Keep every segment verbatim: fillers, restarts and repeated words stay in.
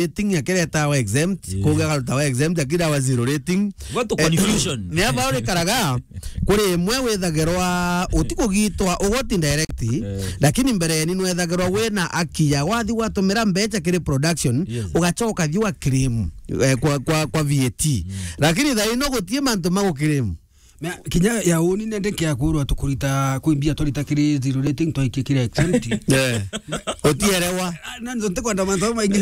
rating, akiretawa exempt, yeah, kuga akarutawa exempt, akirawa zero rating. What a confusion. Eh, ni aba urikaraga, kuri imwe withagirwa utikugitwa ugoti direct, eh, lakini mbere ni nwethagirwa wina akia, wathi watumira mbecha kiri production, yes, ugachoka thiwa claim, eh, kwa, kwa, kwa V A T. Mm. Lakini thaino gutie mantu ma guclaim. Mea, kinya ya uni nende kia kurwa tukurita kwi mbia twarita kiri zero rating twaikie kiri exempt. Eh. Utierewa. Ah, na nzo ntikwenda mantu maingi.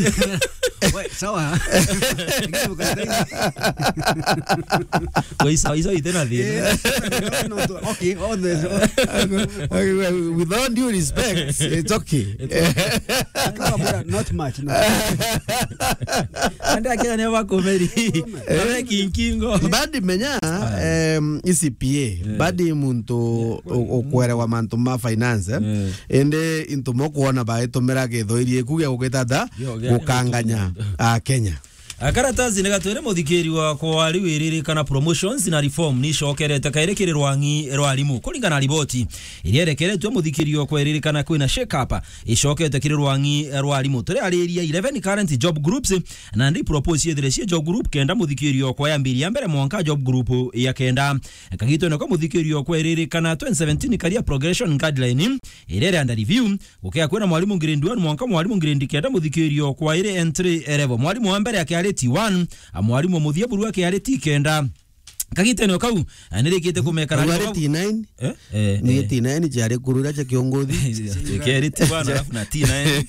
We, sawa. Kwa isa, isa itena thina. Eh, no, no, okay, all the, okay, well, with all due respect, it's okay. It's okay. Kama bora, not much, no. Ande akenya ni abakomeri. Abe kinkingo. Badi menya, em, E C P A. Eh. Badi muntu u-, ukwerewa mantu ma finance, eh. Eh. Indi into mokuona baitumira githoiri iku gia gukita ta. Yo, gia gukanganya gukanganya. A Kenya. A, karatasi ni gatwire muthikiri wa kwari wiririkana promotions na reform ni icokerete kairi kiri rwang'i rwa arimu. Kuringana na riboti iria irekeretwe muthikiri wa kwiririkana kwina shake up icokete kiri rwang'i rwa arimu. Turiariria eleven current job groups, na ndi propose ithire cie job group kenda muthikiri okwa yambiria mbere mwanka job group ya kenda. Kagitone kwa muthikiri okwa iririkana twenty seventeen career progression guideline iria iri under review, gukea kwina mwarimu grade one mwanka mwarimu grade kenda muthikiri okwa iri entry level. Mwarimu wa mbere akiari T one, a mwarimu wa muthia buru akiari T kenda. Kagitene o kau, eh, nirikite kumekana. Au ari T nine? Eh? Eh, ni eh. T nine ciari kurura cia kiongothi. Keri T one alafu na T nine.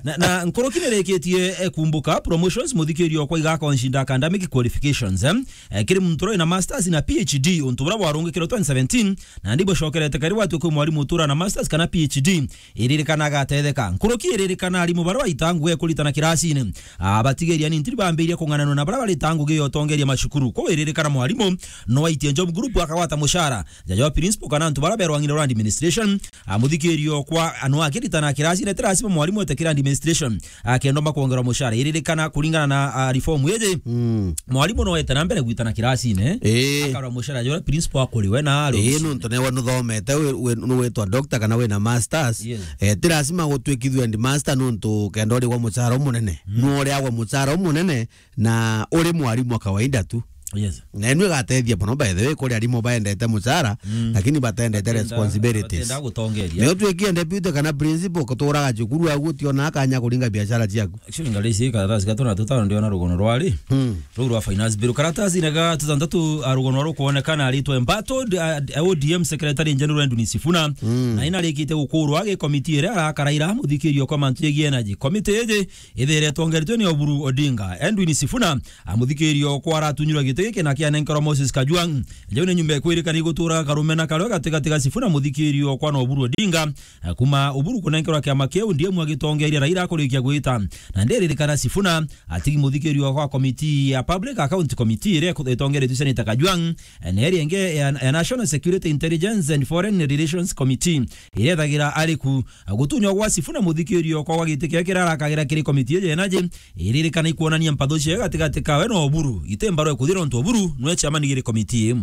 Na, na nkuruki nirikitie, eh, kumbuka promotions muthikiri okwa igakonshinda academic qualifications, eh? Eh, kiri muntu uri na masters na P H D, untu buria bwarungikirwe twenty seventeen, na ndi bucokerete kari watu kwi mwarimu utura na masters kana P H D. Iririkana agatetheka. Nkuruki iririkana arimu baria baita ngugi ya kuritana kirasine. Ah, batigeria ni ntiri bambiria kung'ananua na baria barita ngugi ya utongeria macukuru. Kwou iririkana mwarimu no aitie job group akagwata mucara. Jaja wa principal kana antu baria berwa ng'ina rwa administration. Ah, muthikiri okwa anwa akiritana kirasine, ti lazima mwarimu ete kira administration akendwa makwongerwa mucara. Iririkana kuringana na, ah, reform iji. Mm. Mwarimu no ete na mbere gwitana kirasine. Ii. Akarwa mucara jora principal akuriwe na aro. Ii, nontu newe nuthomete, wi-, wi-, nuwitwa doctor kana wina masters. Yes. Eh, ti lazima gutwikithua headmaster nontu kenda urigwa mucara umunene. Mm. Nuriagwa mucara umunene na uri mwarimu wa kawaida tu. Yes. Na inu igatethia mono, by the way, kuri arimu baendete mucara, mm, lakini batendete batenda, responsibilities. Batenda gutongeria. Ni utwikie deputy kana principal, kuturaga cukuru agu utionaa kanya kuringa biashara ciaku. Actually, ngarisi karatasi gatu na tutano ndiona rugono rwari. Mm. Ruu rwa finance bill. Karatasi na ga tutantatu, a, rugono rwa rukuonekana aritwe Mbato, a, a, O D M Secretary General Edwin Sifuna. Mm. Na ina rikite gukurwa gi committee iria arakaraira muthikirio kwa mantu jegie energy. Committee iji ithire itongeretwe ni Oburu Odinga. Edwin Sifuna, a, muthikirio kwa aratunyirwa giti giki na kianenkerwa Moses Kajwang'. Jau ni nyumba ikwirikana igutura karume na karwe gatigati ga Sifuna muthikirio kwa na Oburu Odinga. Eh, kuma Oburu kunenkerwa kiama kiu, ndiemu agitongeria Raila akurikia gwita. Na ndiririkana Sifuna atigi muthikirio kwa committee ya Public Account Committee iria iku-, itongeretwe Senator Kajwang', eh, na iria ingi ya, ya National Security, Intelligence and Foreign Relations Committee iria ethagira ari ku. Eh, gutunywa gwa Sifuna muthikirio kwa gwa giti kiria kirarakagira kiri committee iji energy, iririkana ikuonania mpatho cia gatigati kawe na Oburu. Ite mbarwa ikuthira untu Oburu nwe chairman giri committee iu.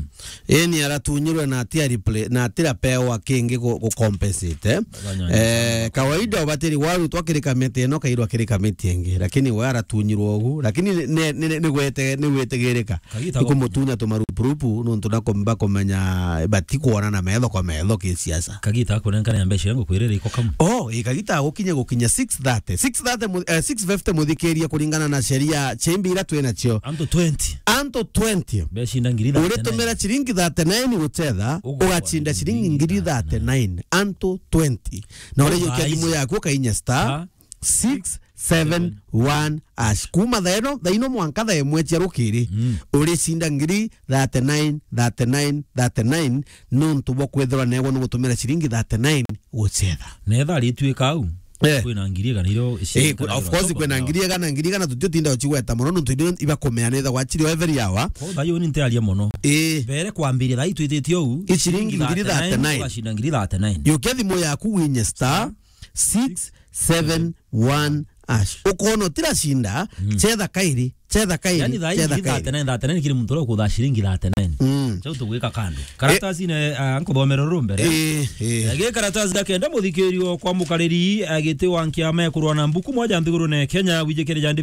Ii ni aratunyirwe na ati a repla-, na ati rapewa kingi gu-, gu compensate, eh? Banyanya. Eh, kawaida ubatiri warutwa kiri kamiti ino kairwa kiri kamiti ingi, lakini we aratunyirwe ugu, lakini ni, ni, ni, ni gwete-, ni gwitigirika. Kagita go- ikumutunya tumarupurupu nontu na kumba kumenya batikwonana metho kwa metho ki siasa. Kagita akunenkana ya mbeca yangu kwirira iko kamu. Oh, ii, kagita gukinya gukinya six thirty. Six thirty mu-, eh, six fifty muthikiria kuringana na sheria chimbi ira twina cio. Antu twenty. Antu twenty. Beshinda ngiri thirty-nine. Uritumira ciringi thirty-nine guchetha, ugachinda ciringi ngiri thirty-nine. Antu twenty. Na urijukia thimu yaku ukainya star six seven one hash. Kuma thaa ino, thaa ino mwanka thaa imwe cia rukiri, mm, uricinda ngiri thirty-nine, thirty-nine, thirty-nine, nontu bwa kwithirwa neegwa ni gutumira ciringi thirty-nine guchetha. Netha arituika au. Eh. Kwina ngiri igana irio. Eh, kwi-, of course, kwina ngiri igana, ngiri igana tutiutinda ucigweta mono, nontu irio ibakumea netha gwachiri o every hour. Ko thaa iyo ni ntiaria mono. Eh. Mbere kwambiria thaa itwititie ou, i ciringi ngiri thirty-nine, thirty-nine, ugacinda ngiri thirty-nine. Yukia thimu yaku winye star six seven one hash. Ukoona utiracinda, mm, chetha kairi. Cetha kairi, yani, thaa hii cetha ngiri kairi. Thirty-nine, thirty-nine kiri muntu uria ukuthaa ciringi thirty-nine. Mm. Chau tugwika kando. Karatasi ne, ah, nkuthomera ruru mbere. Eh, eh. Eh, gi karatasi ga kenda, muthikirio kwa mukariri, ah, giti wa nkiama ya kurwa na mbuku moja nthigurune Kenya, wijikire jandi